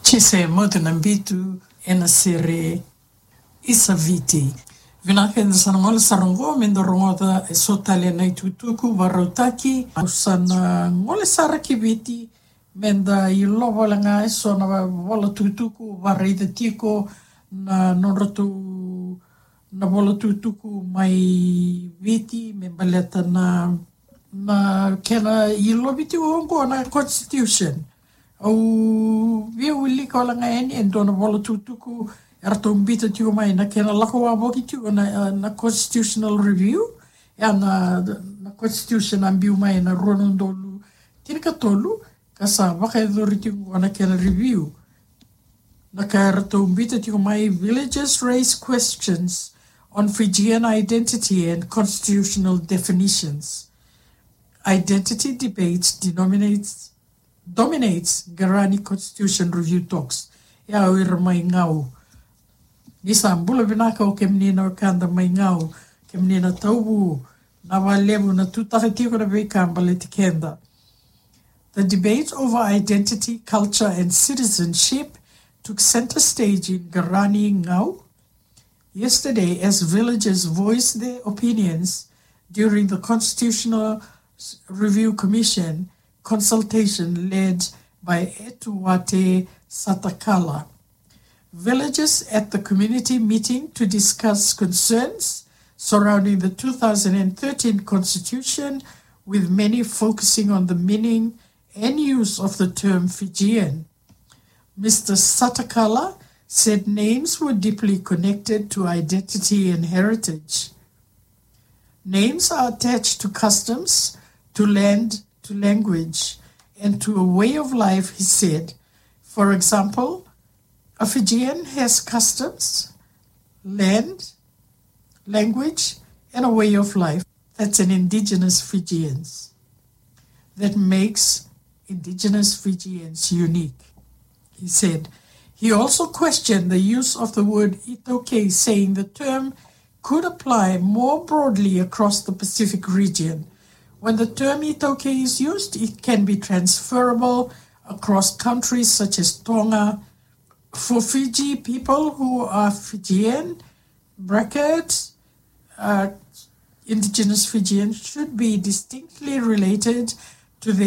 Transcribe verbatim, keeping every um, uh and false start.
Tise Motu na Bitu ena sere Isa Viti. Vinaka, eda sa na gole sara oqo me da rogoca eso tale na itukutuku vakarautaki. Au sa na gole sara ki Viti me da ilova wale ga eso na vola tukutuku vakaraica tiko na nodratou na vola tukutuku mai Viti me baleta na, na kena ilovi tiko oqo na constitution. Au via wilika wale ga yani e dua na vola tukutuku eratou biuta tiko mai na kena lako wavoki tiko na, na constitutional review. Ia na, na constitution a biu mai na rua na udolu tinikatolu, ka sa vakayacori tiko oqo na kena review. Na ka eratou biuta tiko mai: Villagers raise questions on Fijian identity and constitutional definitions. Identity debate denominates, dominates Garani constitution review talks. Ia o ira mai Gau. Ni sa bula vinaka o kemuni na wekada mai Gau, kemuni na Tauvu, na vakalevu na tutaka tiko na veika baleti keda. The debate over identity, culture and citizenship took center stage in Garani, Gau yesterday as villagers voiced their opinions during the Constitutional Review Commission consultation led by Etuate Satakala. Villagers at the community meeting to discuss concerns surrounding the two thousand and thirteen constitution, with many focusing on the meaning and use of the term Fijian. Mister Satakala said names were deeply connected to identity and heritage. Names are attached to customs, to land, to language, and to a way of life, he said. For example, a Fijian has customs, land, language, and a way of life that's an indigenous Fijians, that makes indigenous Fijians unique, he said. He also questioned the use of the word iTaukei, saying the term could apply more broadly across the Pacific region. When the term iTaukei is used, it can be transferable across countries such as Tonga. For Fiji, people who are Fijian, bracket, uh, indigenous Fijian, should be distinctly related to their